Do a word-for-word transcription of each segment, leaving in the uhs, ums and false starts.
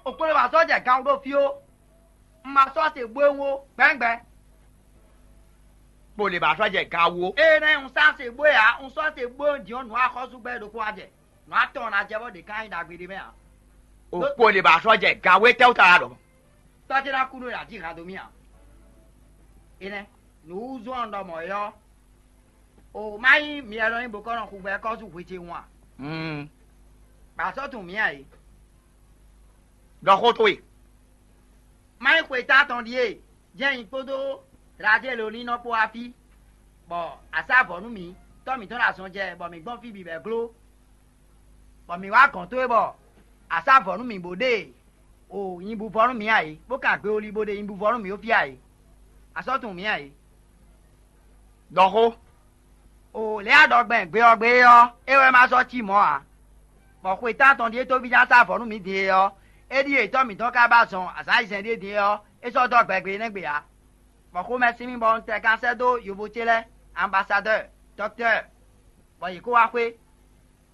O kpo lě ba sɔ́ jɛ gan wú ɖo fí ó. Un ma sɔ́ se bó e wú ó gbɛ́ngbɛ́n. Kpo lě ba sɔ́ jɛ gan wú ó. Énɛ́ un sá se bó e ǎ, un sɔ́ se bó e din ɔ́ nǔ axɔ́súgbɛ́ ɖokpó wá jɛ. Nǔ atɔn ná jɛ bɔ ɖě ká nyí ɖagbe ɖé mɛ ǎ. O kpo lě ba sɔ́ jɛ gan wú é tɛ́wú ta wá ɖɔ. Tɔ́ ce ná kú nú è nǎ jí han dó mì ǎ. Énɛ́, nǔ wúzú ɔ́ un ɖɔ mɔ̌ é ɔ́, o má nyí myɛ nɔ nyí bo kɔ́ nɔ xu gbɛ kɔ́ sú hwe ce wun a? Bɔ a sɔ́ tunwun mǐ ǎ é. Ɖɔ xó towe. Má nyí xwe tántɔn ɖíe jɛ́n nyi kpódó Razeloni nɔ kpó wá fí, bɔ a sá vɔ̌ nú mǐ, tɔ́ mǐtɔn ɖo azɔn jɛ, bɔ mǐ gbɔn fí bǐ bɔ é gló, bɔ mǐ wá gɔ̌n towe bɔ a sá vɔ̌ nú mǐ bó ɖe o nyibú vɔ́ nú mǐ ǎ é, bó kan gbe oli bó ɖe nyibú vɔ́ nú mǐ ɖo fí ǎ é. A sɔ́ tunwun mǐ ǎ é. Ɖɔ xó. O lě a ɖɔ gbɛn gbe ɔ́ gbe é ɔ́, é wɛ ma sɔ́ cí mɔ̌ ǎ. Bɔ xwe tántɔn ɖíe tóví ná sá vɔ̌ nú mǐ din é ɔ́, é ɖíe tɔ́ mǐtɔn ka ba zɔn azǎn ayizɛ́n ɖíe din é ɔ́, é sɔ́ dó gbɛgbɛ énɛ́ gbe ǎ. Bɔ xomɛ sín mì bɔ un tɛ kan sɛ́ dó yovo ce lɛ́ɛ, ambasadɔ́ɔ, dɔktɔ́ɔ, bɔ yě kó wá xwé.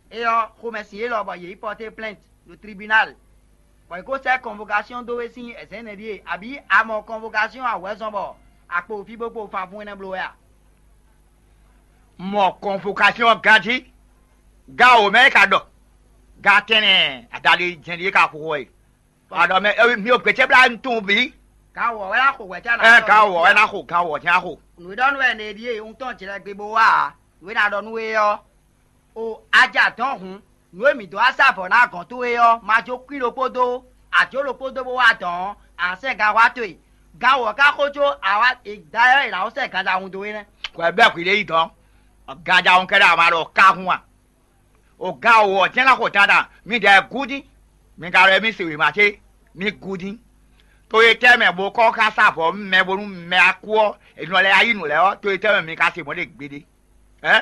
É ɔ́, xomɛ sin élɔ́ bɔ yě yi pɔ́té plɛ́nt ɖo tribunal, bɔ yě kó sɛ́ kɔnvokasyɔn dó we sín ɛzɛ̌ nɛɖíe, abǐ a mɔ kɔnvokasyɔn ǎ wɛ zɔn bɔ a kpo fí bó kpo fanfún énɛ́ bló wɛ a? Mɔ kɔnvokasyɔn ganjí, gan wǒ mɛ é ka ɖɔ, gan tɛnɛ adaɖé jɛ́n ɖíe ka xo xo wɛ. A ɖɔ mɛ mi ò gběcɛ́blá nú tunwun bǐ. Gan wɔ wɛ ná xo wɛ cá ná ɛ gan wɔ wɛ ná xo gan wɔ jɛ́n ná xo. Nǔ e ɖɔ nú wɛ nɛ ɖíe un tɔn jlɛ gbe bó wá ǎ. Nǔ e ná ɖɔ nú we ɔ́, o a ja dɔn hǔn, nǔ e mǐ dó wá sá vɔ̌ ná gɔ̌n towe ɔ́, ma jó kwín ɖokpó dó, a jó ɖokpó dó bó wá dɔn ɔ́, a sɛ́ gan wá towe. Gan wɔ ká xó có a wá dayɔ́ è nǎ wó sɛ́ ganjahun dó we nɛ́. Hwɛ bɛ́ hwǐ ɖé yi dɔn. Ganjahun kɛ́ɖɛ́ a ma ɖɔ ká hun a? O gan wǒ ɔ́ jɛ́n ná xo dandan, midɛɛ gúdín, mi ka ɖɔ émí se wěma ce, mi gúdín. To e tɛ́ mɛ bó kɔ́ xá sá vɔ̌ mɛ bónú mɛ wá kú ɔ́, è nɔ lɛ́ yá yí nǔ lɛ́ɛ ɔ́, to e tɛ́ mɛ mi ka se mɔ̌ ɖe gbeɖé? Ɛ?